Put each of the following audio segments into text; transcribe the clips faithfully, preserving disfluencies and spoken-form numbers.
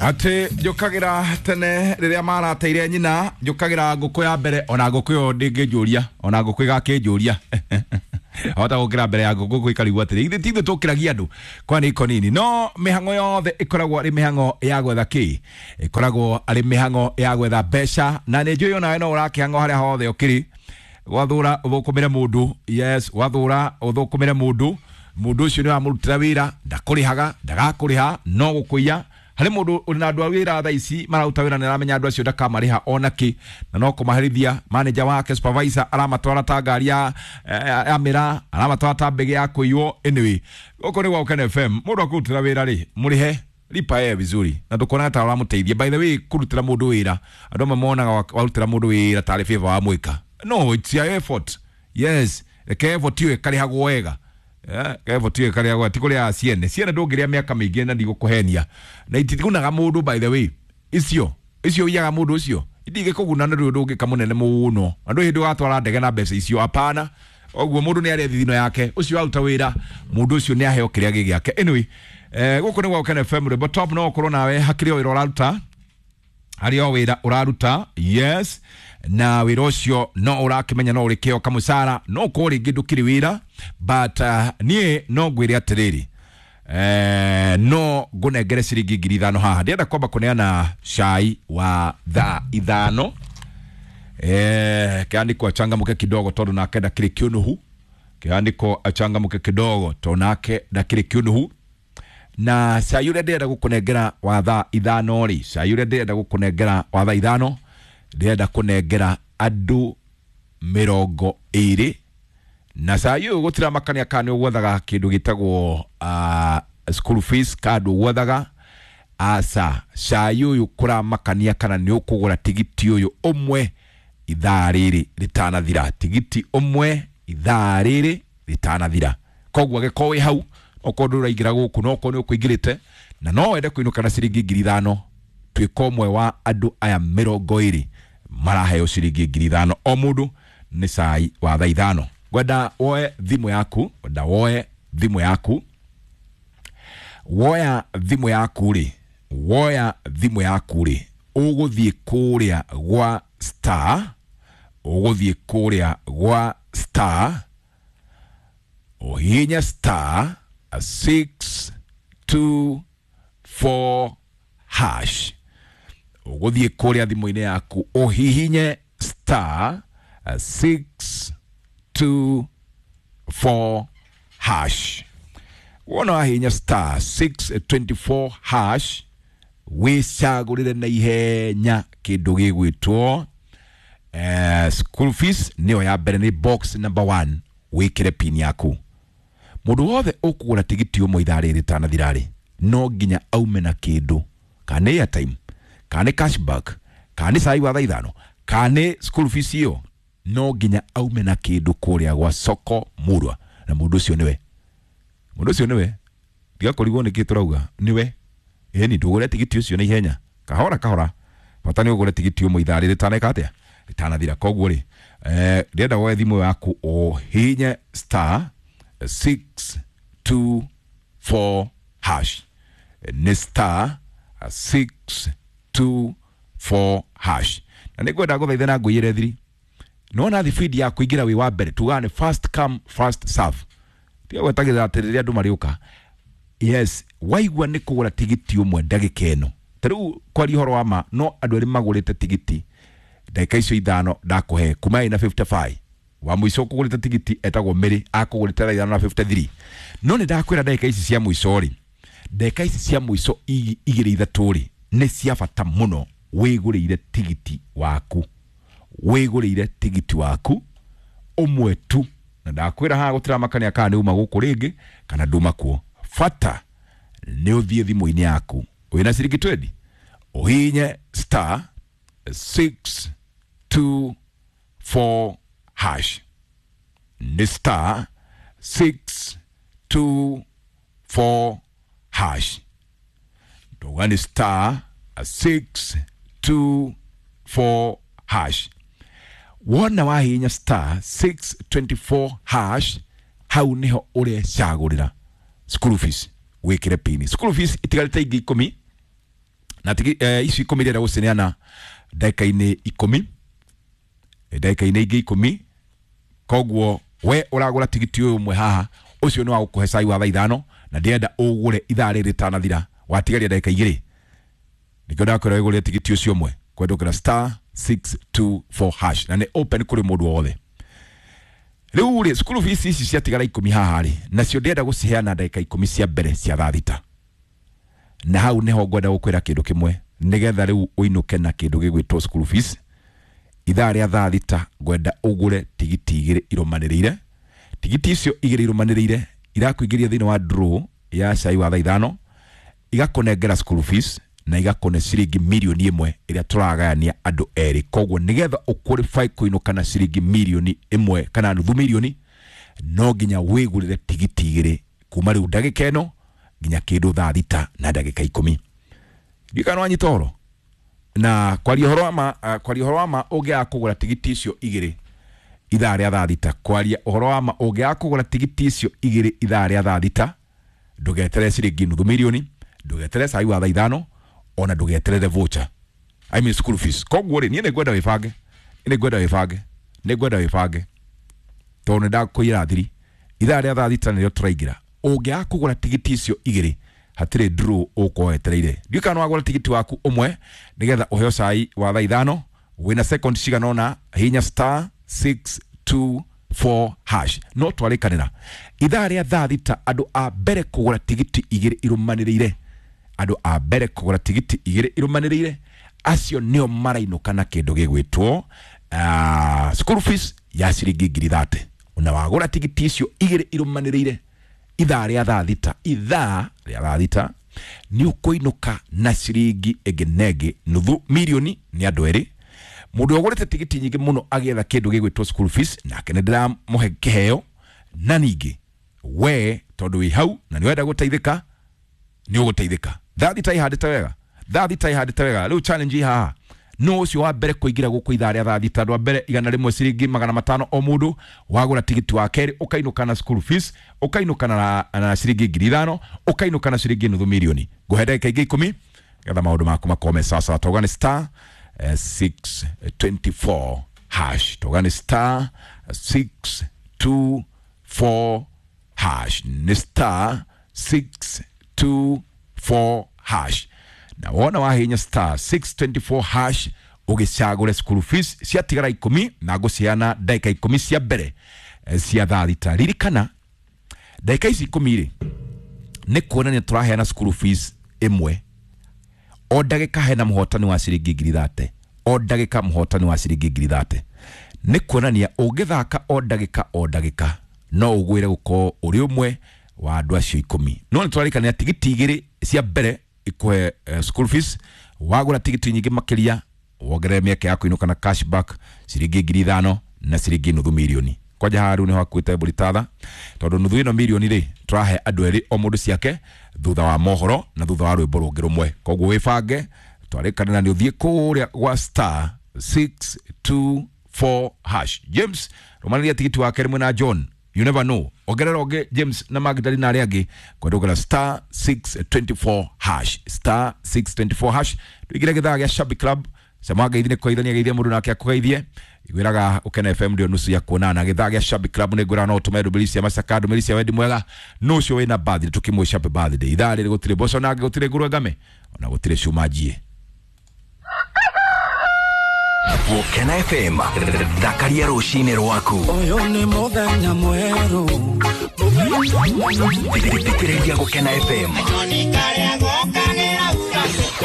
Atä njũkagĩra tene rĩrĩa marateire nyina, njũkagĩra ngũkũ ya mbere, ona ngũkũ ĩyo ndĩngĩnjũria, ona ngũkũ ĩgakĩnjũria. Hota gũkĩra mbere ya ngũkũ gũikarigwo atĩrĩ, ithuĩ ti ithuĩ tũkĩragia andũ kwa nĩ ikonini, no mĩhang'o yothe ĩkoragwo arĩ mĩhang'o ya gwetha kĩ, ĩkoragwo arĩ mĩhang'o ya gwetha mbeca. Na nĩ njũĩ onawe no ũrakĩhang'o harĩa hothe ũkĩrĩ, wathũra ũthũkũmĩre mũndũ. Yes, wathũra ũthũkũmĩre mũndũ, mũndũ ũcio nĩ wamũrutĩra wĩra, ndakũrĩhaga, ndagakũrĩha, no gũkũiya. Harĩ mũndũ ũrĩ na andũ a wĩra thaa ici mararuta wĩra, nĩ aramenya andũ acio ndakamarĩha ona kĩ, na no kũmaherithia. Manager wake, supervisor, aramatwara ta ngari ya, ya, ya mĩraa, aramatwara ta mbege ya kũiywo. Anyway, gũkũ nĩ gwa Ũkene F M. Mũndũ akũrutĩra wĩra rĩ, mũrĩhe, lipa yeye vizuri, na ndũkona ta ũramũteithia. By the way, kũrutĩra mũndũ wĩra, andũ amwe monaga wa- warutĩra mũndũ wĩra tarĩ favor wamwĩka. No, it's your effort. Yes, reke effort ĩyo ĩkarĩhagwo wega. Eh, effort ĩyo ĩkarĩhagwo, ti kũrĩa ciene ciene ndũngĩrĩa mĩaka mĩingĩ, na ndigũkũhenia na itigunaga mũndũ. By the way, icio icio ũiyaga mũndũ ũcio itingĩkũguna, nĩ rĩu ndũngĩka mũnene mũno, na ndũrĩ hĩndĩ ũgatwara ndege na mbeca icio, hapana. Ũguo mũndũ nĩ arĩa thithino yake, ũcio waruta wĩra, mũndũ ũcio nĩ aheo kĩrĩa gĩ gĩake. Anyway, eh, gũkũ nĩ gwa Ũkene F M, rwĩmbo top. No ũkorwo nawe hakĩrĩ o wĩra ũraruta, harĩ o wĩra ũraruta, yes, na wĩra ũcio no ũrakĩmenya no ũrĩkĩo kamũcara, no ũkorwo rĩngĩ ndũkĩrĩ wĩra, but uh, niĩ no ngwĩre atĩrĩrĩ, eh, no ngũnengere ciringi ngiri ithano haha. Ndĩrenda kwamba kũneana cai wa thaa ithano. eh, kĩandĩkwo achangamke kidogo tondũ nake ndakĩrĩ kĩũnũhu. Kĩandĩko achangamke kidogo tondũ nake ndakĩrĩ kĩũnũhu. Na cai ũrĩa ndĩrenda gũkũnengera wa thaa ithano rĩ, cai ũrĩa ndĩrenda gũkũnengera wa thaa ithano, ndĩrenda kũnengera andũ mĩrongo ĩrĩ. Na cai ũyũ gũtiramakania kana nĩ ũgwethaga kĩndũ gĩtagwo uh, school fees, kana ndũgwethaga, aca. Cai ũyũ kũramakania kana nĩ ũkũgũra tigiti ũyũ ũmwe ithaa rĩrĩ rĩtanathira, tigiti ũmwe ithaa rĩrĩ rĩtanathira. Koguo angĩkorwo wĩ hau, okorwo ndũraingĩra gũkũ, no okorwo nĩ ũkũingĩrĩte na no wende kũinũka na ciringi ngiri ithano, tuĩka ũmwe wa andũ aya mĩrongo ĩrĩ maraheo ciringi ngiri ithano o mũndũ nĩ cai wa thaa ithano. Ngwenda woe thimũ yaku, ngwenda woe thimũ yaku. Woya thimũ yaku rĩ, woya thimũ yaku rĩ, ũgũthiĩ kũrĩa gwa star, ũgũthiĩ kũrĩa gwa star, ũhihinye star six two four hash. Ũgũthiĩ kũrĩa thimũ-inĩ yaku, ũhihinye star six two four hash. Wona wahihinya star six two four hash, wĩcagũrĩre na ihenya kĩndũ gĩgwĩtwo eh, school fees, nĩyo ya mbere, nĩ box number one. Wĩkĩre pin yaku. Mũndũ wothe ũkũgũra tigiti ũmwe ithaa rĩrĩ rĩtanathira rĩ, no nginya aume na kĩndũ, kana nĩ airtime, kana nĩ cashback, kana nĩ cai wa thaa ithano, kana nĩ school fees ĩyo, no nginya aume na kĩndũ kũrĩa gwa soko murwa. Na mũndũ ũcio nĩwe, mũndũ ũcio nĩwe, tiga kũrigwo nĩkĩ tũrauga nĩwe. Ĩni ndũgũre tigiti ũcio na ihenya, kahora kahora, bata nĩ ũgũre tigiti ũmwe ithaa rĩrĩ rĩtaneka atĩa, rĩtanathira. Koguo rĩ, eh, ndĩrenda woe thimũ yaku, ũhihinye star six two four hash, nĩ star six two four hash. Na nĩ ngwenda gũthaitha na ngũiyĩre thiri, nona thibindi ya kũingĩra wĩ wa mbere, tugaga nĩ first come, first serve. Tiga gwetagĩrĩra atĩ rĩrĩa andũ marĩũka. Yes, waigua nĩ kũgũra tigiti ũmwe ndagĩka ĩno, ta rĩu kwaria ũhoro wa ma, no andũ erĩ magũrĩte tigiti ndagĩka icio ithano ndakũhe kuma ina fifty-five. Wa mũico kũgũrĩte tigiti etagwo Mary, akũgũrĩte thaa ithano na fifty-three. No nĩ ndakwĩra ndagĩka ici cia mũico rĩ, ndagĩka ici cia mũico igi- igĩrĩ ithatũ rĩ, nĩ cia bata mũno wĩgũrĩire tigiti waku, wĩgũrĩire tigiti waku ũmwe tu. Na ndakwĩra haha gũtiramakania kana nĩ uma gũkũ rĩngĩ kana nduma kuo, bata nĩ ũthiĩ thimũ-inĩ yaku wĩna ciringi twenty, ũhihinye star six two four hash, nĩ star six two four hash. Ndoga nĩ star six two four hash. Wona wahihinya star six two four hash, hau niho ũrecagũrĩra school fees, wĩkĩre pini. School fees itigarĩte ingĩ ikũmi. Na tigi eh, ici ikũmi ndĩrenda gũcineana ndagĩka-inĩ ikũmi, ndagĩka-inĩ ingĩ ikũmi. Koguo we ũragũra tigiti ũyũ ũmwe haha, ũcio nĩ wa gũkũhe cai wa thaa ithano, na ndĩrenda ũgũre ithaa rĩrĩ rĩtanathira, watigaria ndagĩka igĩrĩ. Nĩkĩo ndakwĩra wĩgũrĩre tigiti ũcio ũmwe kwendũkĩra star six two four hash, na nĩ open kũrĩ mũndũ wothe. Rĩu rĩ, school fees ici ciatigara ikũmi haha rĩ, nacio ndĩrenda gũciheana ndagĩka ikũmi cia mbere cia thaa thita. Na hau nĩho ngwenda gũkwĩra kĩndũ kĩmwe, nĩgetha rĩu ũinũke na kĩndũ gĩgwĩtwo school fees. Ithaa rĩa thaa thita ngwenda ũgũre tigiti igĩrĩ irũmanĩrĩire. Tigiti icio igĩrĩ irũmanĩrĩire irakũingĩria thĩinĩ wa draw ya cai wa thaa ithano, igakũnengera school fees na igakũne ciringi mirioni ĩmwe ĩrĩa tũragayania andũ erĩ. Koguo nĩgetha ũqualify kũinũka na ciringi mirioni ĩmwe kana nuthu mirioni, no nginya wĩgũrĩre tigiti igĩrĩ kuma rĩu ndagĩka ĩno nginya kĩndũ thaa thita na ndagĩka ikũmi. Ndiũĩ kana nĩwanyita ũhoro? Na kwaria ũhoro wa ma, uh, kwaria ũhoro wa ma, ũngĩaga kũgũra tigiti icio igĩrĩ ithaa rĩa thaa thita, kwaria ũhoro wa ma, ũngĩaga kũgũra tigiti icio igĩrĩ ithaa rĩa thaa thita, ndũgeterere ciringi nuthu mirioni, ndũgeterere cai wa thaa ithano, ona ndũgeterere voucher, I mean school fees. Koguo rĩ, niĩ nĩ ngwenda wĩbange, nĩ ngwenda wĩbange, nĩ ngwenda wĩbange, tondũ nĩ ndakũiyĩra thiri. Ithaa rĩa thaa thita nĩrĩo tũraingĩra. Ũngĩaga kũgũra tigiti icio igĩrĩ, hatirĩ draw ũgũkorwo wetereire. Ndiũĩ kana nĩwagũra tigiti waku ũmwe nĩgetha ũheo cai wa thaa ithano, wĩna second cigana ũna, hihinya star six two four hash. No twarĩkanĩra ithaa rĩa thaa thita, andũ a mbere kũgũra tigiti igĩrĩ irũmanĩrĩire, andũ a mbere kũgũra tigiti igĩrĩ irũmanĩrĩire, acio nĩo marainũka na kĩndũ gĩgwĩtwo uh, school fees ya ciringi ngiri thate. Ona wagũra tigiti icio igĩrĩ irũmanĩrĩire ithaa rĩa thaa thita, ithaa rĩa thaa thita nĩ ũkũinũka na ciringi ĩngĩ na ĩngĩ nuthu mirioni nĩ andũ erĩ. Mũndũ ũgũrĩte tigiti nyingĩ mũno agĩetha kĩndũ gĩgwĩtwo school fees, nake nĩ ndĩramũhe kĩheo. Na ningĩ we tondũ wĩ hau na nĩ wenda gũteithĩka, nĩ ũgũteithĩka. Thaa thita ihandĩte wega, thaa thita ihandĩte wega. Rĩu challenge ĩ haha, no ũcio wa mbere kũingĩra gũkũ ithaa rĩa thaa thita, andũ a mbere igana rĩmwe ciringi magana matano o mũndũ, wagũra tigiti wa kerĩ ũkainũka na school fees, ũkainũka na, na ciringi ngiri ithano, ũkainũka na ciringi nuthu mirioni. Ngũhe ndagĩka ingĩ ikũmi getha maũndũ maku makorwo me sawa sawa. Tauga nĩ star eh, six twenty four hash, tauga nĩ star six two four hash, nĩ star six two four hash. Na wona wahinya star six twenty four hash ũgĩcagũre school fees ciatigara ikũmi, na ngũciheana ndagĩka ikũmi cia mbere eh, cia thaa thita. Ririkana ndagĩka ici ikũmi rĩ, nĩ kuonania tũraheana school fees ĩmwe o ndagĩka, hena mũhotani wa ciringi ngiri thate o ndagĩka, mũhotani wa ciringi ngiri thate. Nĩ kuonania ũngĩthaka o ndagĩka o ndagĩka, no ũgwĩre gũkorwo ũrĩ ũmwe wa andũ acio ikũmi. No nĩ tũrarikania tigiti igĩrĩ cia mbere ikuhe uh, school fees. Wagũra tigiti nyingĩ makĩria, wongerere mĩeke ya kũinũka na cashback ciringi ngiri ithano na ciringi nuthu mirioni. Kwanja haha rĩu nĩho hakuĩte mbũri tatha, tondũ nuthu ĩno mirioni rĩ, tũrahe andũ erĩ o mũndũ ciake thutha wa mohoro na thutha wa rwĩmbo rũngĩ rũmwe. Koguo wĩbange, twarĩkanĩra nĩ ũthiĩ kũrĩa gwa star six two four hash. James rũmanĩria tigiti wa kerĩ mwena John, you never know, ongerera ũngĩ James na Magdalena arĩa angĩ kwendũkĩra star six twenty four hash, star six twenty four hash. Tũingĩre gĩthaa gĩa Shabby Club. Cema ngeithi nĩ kũgeithania, geithia mũndũ nake akũgeithie. Igwĩraga Ũkena F M ndio nusu ya kuonana. Gĩthaa gĩa Shabby Club nĩ ngwĩraga no ũtũme ndũmĩrĩri cia macaka, ndũmĩrĩri cia wendi mwega, no ũcio wĩna birthday tũkĩmwĩsha happy birthday. Ithaa rĩrĩ gũtirĩ mboco nangĩ, gũtirĩ ngũrwe ngame, ona gũtirĩ cuma njiĩ. Gũkena F M, thakaria rũcinĩ rwaku. Ũyũ nĩ mũthenya mwerũ. Thikĩrĩria Gũkena F M.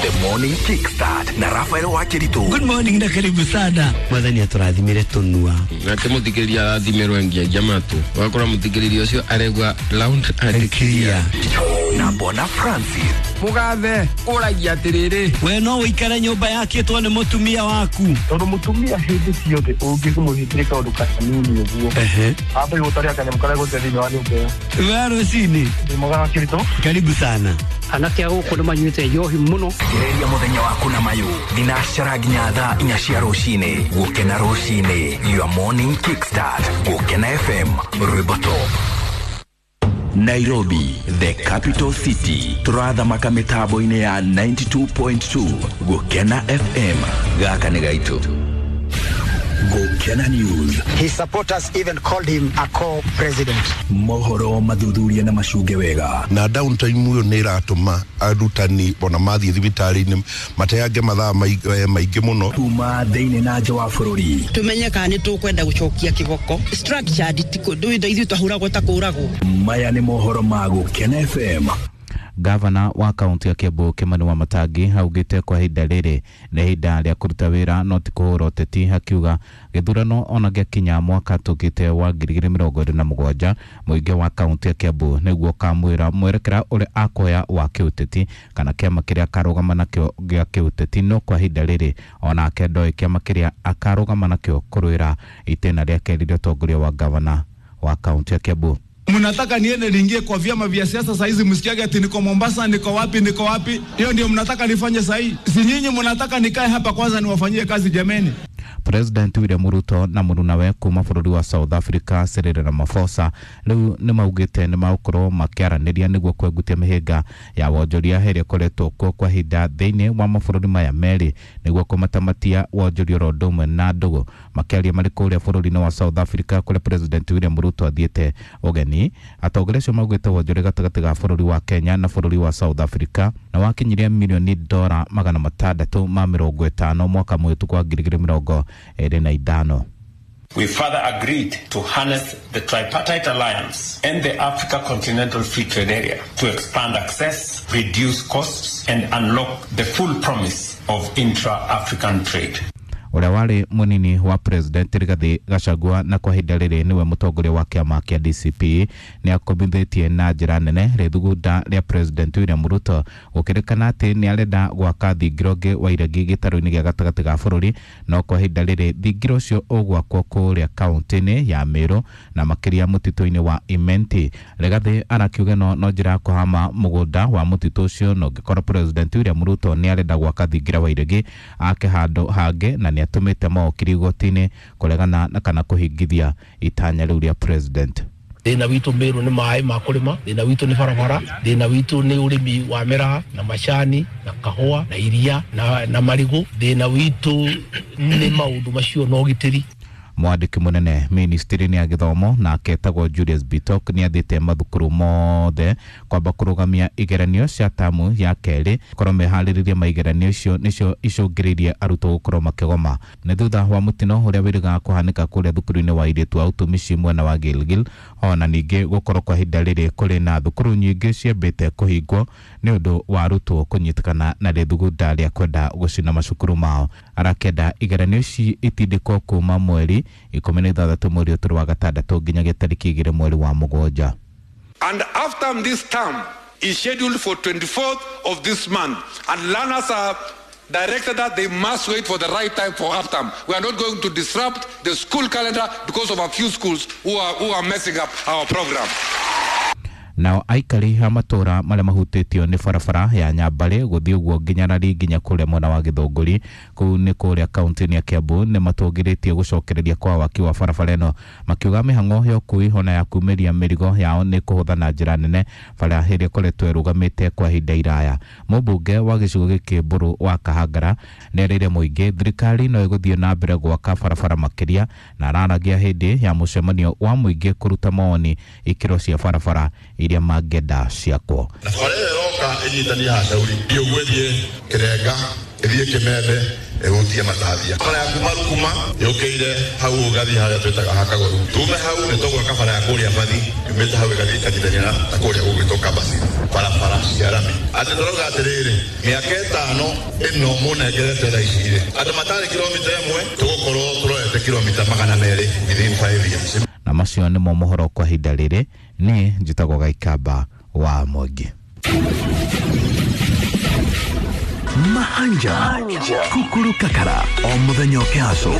The Morning Kickstart na Rafael Wakiritu. Good morning na karibu sana. Mwathani atũrathimire tũnua. Nake mũthikĩrĩria arathimirwo nginya matũ. Wakora mũthikĩrĩria ũcio aregwa round and clear. Na Bona Francis. Mugathe ũragia atĩrĩrĩ. We no ũikare nyũmba yakĩtwo nĩ mũtumia waku. Tondũ mũtumia hĩndĩ ciothe ũngĩmũhingĩria kaũndũ kanini ũguo. Ehe. Ambe gũtaria kanyamũ karĩa gũte thĩinĩ wa nyũmba ĩyo. We rũcinĩ. Ndĩ mwega Wakiritu. Karibu sana. Anake a gũkũ nĩ manyuĩte njohi mũno. Gereria mũthenya waku na mayũ thinacara nginya thaa inya cia rũcinĩ. Gũkena rũcinĩ, your morning kickstart. Gũkena F M, rwĩmbo top. Nairobi, the capital city. Turathamaka mitambo-inĩ ya ninety-two point two Gukena F M. Gaka nĩ gaitũ. Gukena News. His supporters even called him a co-president. Mohoro mathuthuria na macunge wega. Na downtime uyo nĩ ĩratũma arutani ona mathiĩ thibitarĩ-inĩ mateange mathaa maingĩ mũno. Kuma thĩinĩ na nja wa bũrũri. Tumenye kana nĩ tũkwenda gũcokia kĩboko. Structured ti kũndũ ithuĩ twahũragwo ta kũragwo. Maya nĩ mohoro ma Gukena F M. Gavana wa kaunti ya Kiambu Kimani Wamatangi augite kwa ihinda rĩrĩ nĩ ihinda rĩa kũruta wĩra no ti kũhũra ũteti, akiuga gĩthurano ona gĩakinya mwaka tũkĩte wa ngiri igĩrĩ mĩrongo ĩrĩ na mũgwanja mũingĩ wa kaunti ya Kiambu nĩguo ũkamwĩra mwerekera ũrĩa akoya wa kĩũteti kana kĩama kĩrĩa akarũgama nakĩo gĩa kĩũteti, no kwa ihinda rĩrĩ onake ndoĩ kĩama kĩrĩa akarũgama nakĩo kũrũĩra itĩna rĩa kerĩ rĩa ũtongoria wa gavana wa kaunti ya Kiambu. Mnataka niende niingie kwa vyama vya siasa saa hizi, msikiage ati niko Mombasa, niko wapi, niko wapi? Hiyo ndio mnataka nifanye saa hii? Si nyinyi mnataka nikae hapa kwanza niwafanyie kazi jameni? President William Ruto na murunawe kuma bũrũri wa South Africa Cyril Ramaphosa rĩu nĩ maugĩte nĩ magũkorwo makĩaranĩria nĩguo kwengutia mĩhĩnga ya wonjoria ĩrĩa ĩkoretwo kuo kwa ihinda thĩinĩ wa mabũrũri maya merĩ nĩguo kũmatamatia wonjoria oro ũndũ ũmwe na ndũgũ. Makĩaria marĩ kũrĩa bũrũri-inĩ wa South Africa kũrĩa President William Ruto athiĩte ũgeni, atongoria acio maugĩte wonjoria gatagatĩ ga bũrũri wa Kenya na bũrũri wa South Africa na wakinyirie mirioni dora magana matandatũ ma mĩrongo ĩtano mwaka mũhĩtũku wa ngiri igĩrĩ mĩrongo ĩrĩ na ithano. We further agreed to harness the tripartite alliance and the Africa Continental Free Trade Area to expand access, reduce costs, and unlock the full promise of intra-African trade. Ũrĩa warĩ mũnini wa President Rigathi Gachagua na kwa ihinda rĩrĩ nĩwe mũtongoria wa kĩama kĩa D C P nĩ akombithĩtie na njĩra nene rĩthugunda rĩa President William Ruto gũkĩrĩkana atĩ nĩ arenda gwaka thingira ũngĩ wa iregi gĩtarũ-inĩ gĩa gatagatĩ ga bũrũri, no kwa ihinda rĩrĩ thingira ũcio ũgwakwo kũrĩa kaunti-inĩ ya Meru na makĩria mũtitũ-inĩ wa Imenti. Rigathi arakiuga no no njĩra ya kũhama mũgũnda wa mũtitũ ũcio, na ũngĩkorwo President William Ruto nĩ arenda gwaka thingira wa iregi ake handũ hangĩ, na nĩ atũmĩte mawakiri igoti-inĩ kũregana na kana kũhingithia itanya rĩu rĩa president. Thĩna witũ Meru nĩ maĩ ma kũrĩma, thĩna witũ nĩ barabara, thĩna witũ nĩ ũrĩmi wa mĩraa na macani na kahũa na iria na, na marigũ, thĩna witũ nĩ maũndũ macio na ũgitĩri. Mwandĩki mũnene ministry-inĩ ya gĩthomo nake etagwo Julius Bitok nĩ athĩte mathukuru mothe kwamba kũrũgamia igeranio cia tamu ya kerĩ korwo meharĩrĩrie maigeranio icio nĩcio icũngĩrĩirie arutwo gũkorwo makĩgoma. Nĩ thutha wa mũtino ũrĩa wĩrĩgaga kũhanĩka kũrĩa thukuru-inĩ wa airĩtu a ũtumishi mwena wa Gilgil, ona ningĩ gũkorwo kwa ihinda rĩrĩ kũrĩ na thukuru nyingĩ ciambĩte kũhingwo nĩ ũndũ wa arutwo kũnyitĩkana na rĩthugunda rĩa kwenda gũcina macukuru mao. Arakenda igeranio ici itindĩkwo kuma mweri ikũmi na ithathatũ mweri ũtũrũ wa gatandatũ nginyagia tarĩki igĩrĩ mweri wa mũgwanja. And after this term is scheduled for twenty-fourth of this month, and learners are directed that they must wait for the right time for half term. We are not going to disrupt the school calendar because of a few schools who are, who are messing up our program. Nao aikari a matũra marĩa mahutĩtio nĩ barabara ya Nyambarĩ gũthiĩ ũguo nginya Rari nginya kũrĩa mwena wa Gĩthũngũri kũu nĩ kũrĩa kaunti-inĩ ya Kiambu nĩ matũngĩrĩtie gũcokereria kwa waki wa barabara ĩno, makiuga mĩhang'o ya ũkui ona ya kumĩria mĩrigo yao nĩ kũhũtha na njĩra nene bara ĩrĩa ĩkoretwo ĩrũgamĩte kwa ihinda iraya. Mũmbunge wa gĩcigo gĩkĩ Mbũrũ wa Kahangara nĩ erĩire mũingĩ thirikari no ĩgũthiĩ na mbere gwaka barabara makĩria, na araragia hĩndĩ ya mũcemanio wa mũingĩ kũruta mawoni ikĩro cia barabara iria mangĩenda ciakwo. Na bara ĩyo ĩroka ĩnyitanie Hashauri ũguo ĩthiĩ Kĩrenga ĩthiĩ Kĩmembe ĩhutie Matathia. Bara ya kuma Rukuma yũkĩire hau ũgathiĩ harĩa twĩtaga Hakagoru. Tume hau nĩ tũgwaka bara ya kũrĩa Bathi yumĩte hau ĩgathiĩ ĩkanyitania na kũrĩa gũgwĩtwo Kambasi, barabara cia rami. Atĩ tũrauga atĩrĩrĩ, mĩaka ĩtano ĩno mũnengerete thaa ici rĩ, andũ matarĩ kilomita ĩmwe tũgũkorwo tũrorete kilomita magana merĩ within five years. Na macio nĩmo mohoro kwa ihinda rĩrĩ. Niĩ njĩtagwo Gaikamba wa Mwangi. Mahanja kukuru kakara o muthenya ũkĩhacwo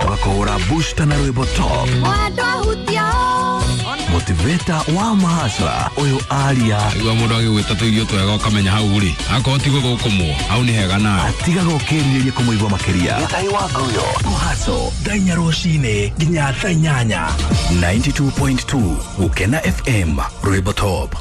tũgakũhũra booster na rwĩmbo top Motivator wa mahasla ũyũ aria Igua mũndũ agĩgwĩta tũirio twega ũkamenya hau rĩ akorwo ti gũthũkũmwo hau nĩ hega nawe atigaga ũkĩrirĩria kũmũigua makĩria. Gĩtahi wa Nguyo kũhaco thaa inya rũcinĩ nginya thaa inyanya. ninety-two point two Gũkena F M Rwĩmbo Top.